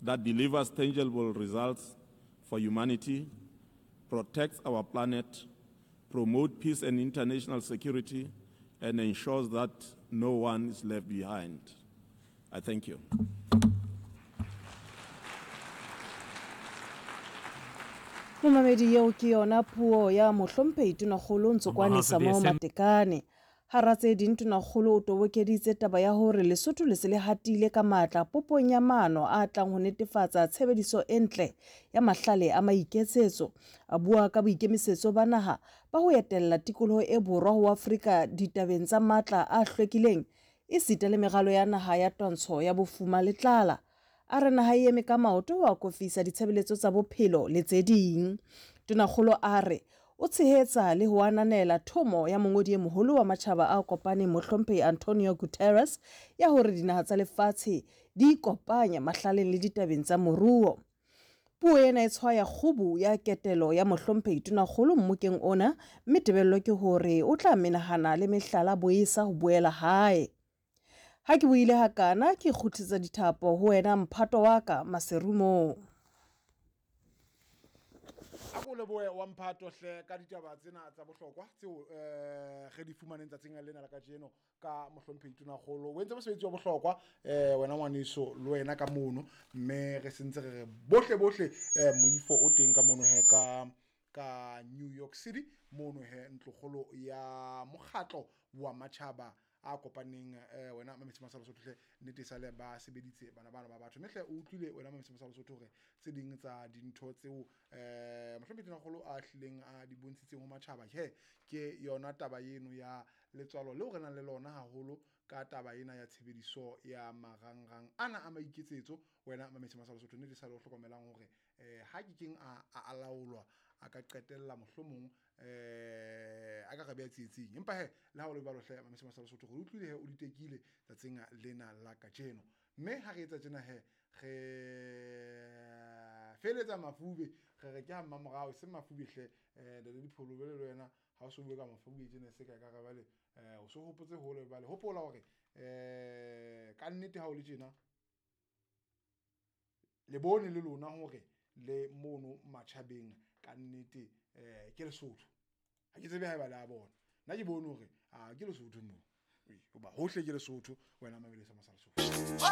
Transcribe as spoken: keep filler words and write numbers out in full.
that delivers tangible results for humanity, protects our planet, promotes peace and international security, and ensures that no one is left behind. I thank you. Momamedi, eo ke yona puo ya Mohlomphehi Tonakgolo Ntsokoane Samo Matekane. Hara tse ding, Tonakgolo o tobokeditse taba ya hore Lesotho le se le hatile ka matla popong ya maano a tlang ho netefatsa tshebediso e ntle ya mahlale a maiketsetso. A bua ka boikemisetso ba naha ba ho etella tikoloho e borwa ho Afrika ditabeng tsa matla a hlwekileng esita le meralo ya naha ya twantsho ya bofuma le tlala. A re naha e eme ka maoto ho akofisa ditshebeletso tsa bophelo le tse ding. Tonakgolo a re o tshehetsa le ho ananela thomo ya mongodi e moholo wa Matjhaba a Kopaneng Mohlomphehi Antonio Guterres ya hore dinaha tsa lefatshe di ikopanye mahlaleng le ditabeng tsa moruo. Puo ena e tshwaya kgubu ya ketelo ya Mohlomphehi Tonakgolo mmokeng ona, mme tebello ke hore o tla menahana le mehlala boesa ho boela hae. Ha ke buile hakana, ke kgutlisetsa dithapo ho wena mphato wa ka Maserumong. A ko lebohe wa mphato hle ka ditaba tsena tsa bohlokwa tseo eh re di fumaneng tsatsing lena la kajeno ka Mohlomphehi Tonakgolo. O entse mosebetsi wa bohlokwa eh wena ngwaneso le wena ka mono, mme re sentse re re bohle bohle eh moifo o teng ka mono he ka ka New York City mono he ntlokgolo ya mokgatlo wa matjhaba a kopaneng. eh wena Mametse Masalo Sotho hle, nnete sale ba sebeditse bana bana ba batho, mme hle o utlwile wena Mametse Masalo Sotho hore tse ding tsa dintho tseo eh Mohlomphehi Tonakgolo a hlileng a di bontshitseng ho matjhaba he ke yona taba eno ya letswalo leo re nang le lona haholo ka taba ena ya tshebediso ya marangrang ana a maiketsetso. Wena Mametse Masalo Sotho, nnete sale o hlokomelang hore eh ha ke keng a a laolwa a ka qetella mohlomong eh a ka re beha tsietsing. Empa he le ha o le jwalo hle Mametse Masalo Sotho, re utlwile he o di tekile tsatsing lena la kajeno, mme ha re etsa tjena he re feletsa mafube, re re ke ha mmamorao se mafube hle. Eh le dipholo le wena ha o so bue ka mafube tjena se ka ka re bale eh o so hopotse hole bale hopola hore eh ka nnete ha o le tjena le bone le lona hore le mono matjhabeng ka nnete eh ke Lesotho. Ha ke tsebe haeba le a bona, nna ke bone hore a ke Lesotho moo, hoba hohle ke Lesotho. Wena Mamele sa Masalo Sotho.